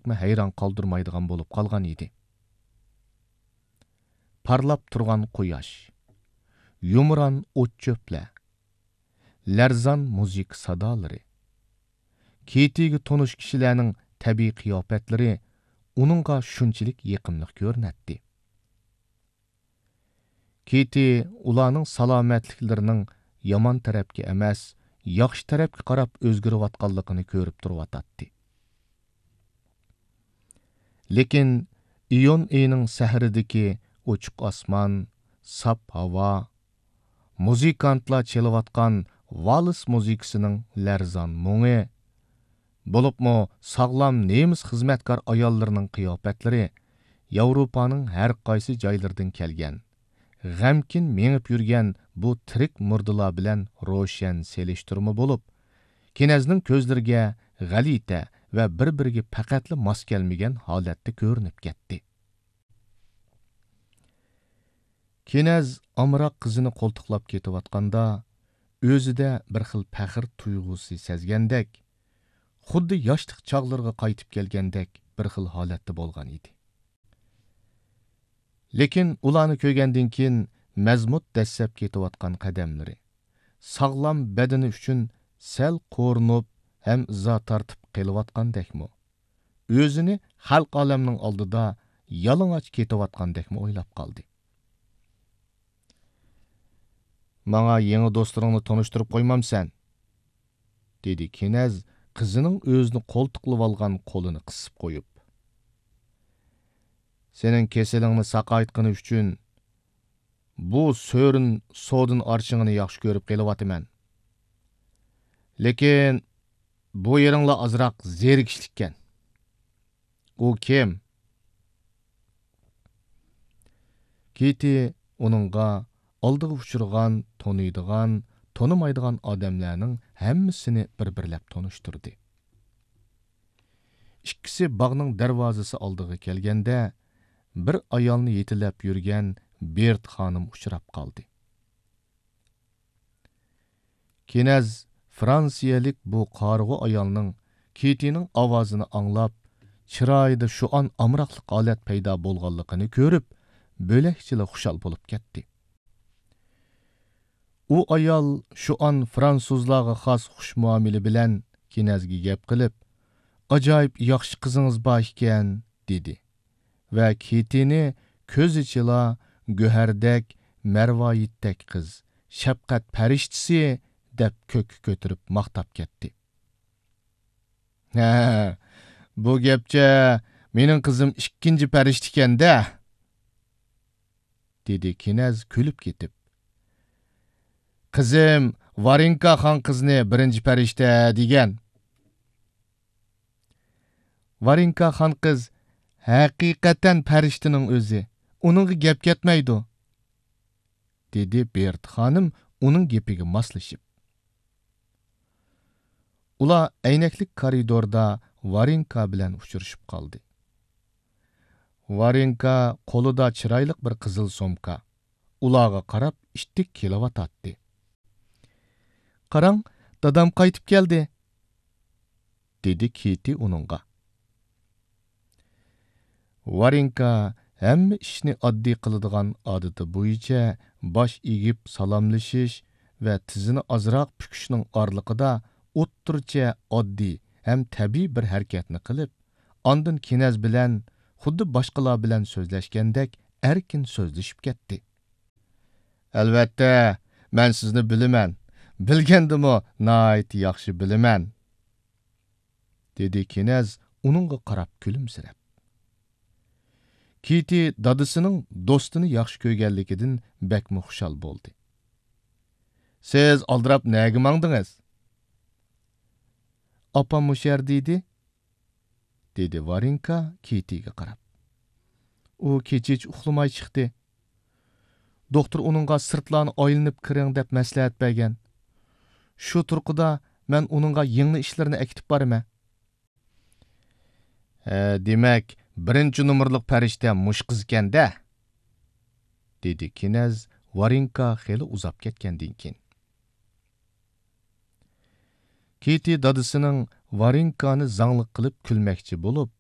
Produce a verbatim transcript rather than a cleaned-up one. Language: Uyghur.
بەكمۇ ھەيران قالدۇرمايدىغان بولۇپ قالغان ئىدى. پارلاپ تۇرغان قۇياش، يۇمران ئوت-چۆپلەر، لەرزان مۇزىكا سادالىرى، كېتىگە تونۇش كىشىلەرنىڭ تەبىئىي قىياپەتلىرى ئۇنىڭغا شۇنچىلىك يېقىملىق كۆرۈنەتتى. كېتى ئۇلارنىڭ سالامەتلىكلىرىنىڭ يامان تەرەپكە ئەمەس، ياخشى تەرەپكە قاراپ ئۆزگىرىۋاتقانلىقىنى كۆرۈپ تۇرۇۋاتاتتى. لېكىن ئىيۇن ئېيىنىڭ سەھىرىدىكى ئوچۇق ئاسمان، ساپ ھاۋا، مۇزىكانتلار چېلىۋاتقان ۋالس مۇزىكىسىنىڭ لەرزان مۇڭى، بولۇپمۇ ساغلام نېمىس خىزمەتكار ئاياللىرىنىڭ قىياپەتلىرى ياۋروپانىڭ ھەر قايسى جايلىرىدىن كەلگەن، غەمكىن مېڭىپ يۈرگەن بۇ تىرىك مۇردىلار بىلەن روشەن سېلىشتۇرما بولۇپ، كېنەزنىڭ كۆزلىرىگە غەلىتە ۋە بىر-بىرىگە پەقەتلا ماس كەلمىگەن ھالەتتە كۆرۈنۈپ كەتتى. كېنەز ئامراق قىزىنى قولتۇقلاپ كېتىۋاتقاندا، ئۆزىدە بىر خىل پەخىر تۇيغۇسى سەزگەندەك، خۇددى ياشلىق چاغلىرىغا قايتىپ كەلگەندەك بىر خىل ھالەتتە بولغان ئىدى. لېكىن ئۇلارنى كۆرگەندىن كېيىن مەزمۇت دەسسەپ كېتىۋاتقان قەدەملىرى، ساغلام بەدىنى ئۈچۈن سەل قورۇنۇپ ھەم ئىزا تارتىپ قېلىۋاتقاندەكمۇ، ئۆزىنى خەلق ئالەمنىڭ ئالدىدا يالىڭاچ كېتىۋاتقاندەكمۇ ئويلاپ قالدى. «ماڭا يېڭى دوستلىرىڭنى تونۇشتۇرۇپ قويمامسەن؟» دېدى كېنەز قىزىنىڭ ئۆزىنى قولتۇقلىۋالغان قولىنى قىسىپ قويۇپ. «سېنىڭ كېسىلىڭنى ساقايتقىنى ئۈچۈن بۇ سۆرۈن سودىن ئارچىڭىنى ياخشى كۆرۈپ قېلىۋاتىمەن. لېكىن بۇ يېرىڭلا ئازراق زېرىكىشلىككەن.» «ئۇ كىم؟» كېتى ئۇنىڭغا ئالدىغا ئۇچرىغان، تونۇيدىغان، تونۇمايدىغان ئادەملەرنىڭ ھەممىسىنى بىر-بىرلەپ تونۇشتۇردى. ئىككىسى باغنىڭ دەرۋازىسى ئالدىغا كەلگەندە، بىر ئايالنى يېتىلەپ يۈرگەن بېرت خانىم ئۇچراپ قالدى. كېنەز فرانسىيەلىك بۇ قارىغۇ ئايالنىڭ كېتىنىڭ ئاۋازىنى ئاڭلاپ، چىرايىدا شۇئان ئامراقلىق ھالەت پەيدا بولغانلىقىنى كۆرۈپ، بۆلەكچىلا خۇشال بولۇپ كەتتى. ئۇ ئايال شۇئان فرانسۇزلارغا خاس خۇش مۇئامىلە بىلەن كېنەزگە گەپ قىلىپ، «ئاجايىپ ياخشى قىزىڭىز بار ئىكەن» دېدى ۋە كېتىنى كۆزىچىلا گۆھەردەك، مەرۋايىتتەك قىز، شەپقەت پەرىشتىسى دەپ كۆككە كۆتۈرۈپ ماختاپ كەتتى. «ھە، بۇ گەپچە مېنىڭ قىزىم ئىككىنچى پەرىشتىكەن-دە!» دېدى كېنەز كۈلۈپ كېتىپ. «قىزىم ۋارېنكا خان قىزنى بىرىنچى پەرىشتە دېگەن.» «ۋارېنكا خان قىز ھەقىقەتەن پەرىشتىنىڭ ئۆزى، ئۇنىڭغا گەپ كەتمەيدۇ.» دېدى بېرت خانىم ئۇنىڭ گېپىگە ماسلىشىپ. ئۇلار ئەينەكلىك كارىدوردا ۋارېنكا بىلەن ئۇچرىشىپ قالدى. ۋارېنكا قولىدا چىرايلىق بىر قىزىل سومكا، ئۇلارغا قاراپ ئىتتىك كېلىۋاتاتتى. «قاراڭ، دادام قايتىپ كەلدى!» دېدى كېتى ئۇنىڭغا. ۋارېنكا ھەممە ئىشنى ئاددىي قىلىدىغان ئادىتى بويىچە باش ئېگىپ سالاملىشىش ۋە تىزىنى ئازراق پۈكۈشنىڭ ئارىلىقىدا ئوتتۇرىچە ئاددىي ھەم تەبىئىي بىر ھەرىكەتنى قىلىپ، ئاندىن كېنەز بىلەن خۇددى باشقىلار بىلەن سۆزلەشكەندەك ئەركىن سۆزلىشىپ كەتتى. «ئەلۋەتتە، مەن سىزنى بىلىمەن. بىلگەندىمۇ ناھايىتى ياخشى بىلىمەن.» دېدى كېنەز ئۇنىڭغا قاراپ كۈلۈمسىرەپ. كېتى دادىسىنىڭ دوستىنى ياخشى كۆرگەنلىكىدىن بەكمۇ خۇشال بولدى. «سىز ئالدىراپ نەگە ماڭدىڭىز؟» «ئاپام مۇشۇ يەردە ئىدى.» دېدى ۋارېنكا كېتىگە قاراپ. «ئۇ كېچىچە ئۇخلىماي چىقتى. دوختۇر ئۇنىڭغا سىرتلارنى ئايلىنىپ كىرىڭ دەپ مەسلىھەت بەرگەن. شۇ تۇرقىدا مەن ئۇنىڭغا يىڭنە ئىشلىرىنى ئەكېتىپ بارىمەن.» «ھە، دېمەك، بىرىنچى نومۇرلۇق پەرىشتە مۇشۇ قىزكەن-دە!» دېدى كېنەز ۋارېنكا خېلى ئۇزاپ كەتكەندىن كېيىن. كېتى دادىسىنىڭ ۋارېنكانى زاڭلىق قىلىپ كۈلمەكچى بولۇپ،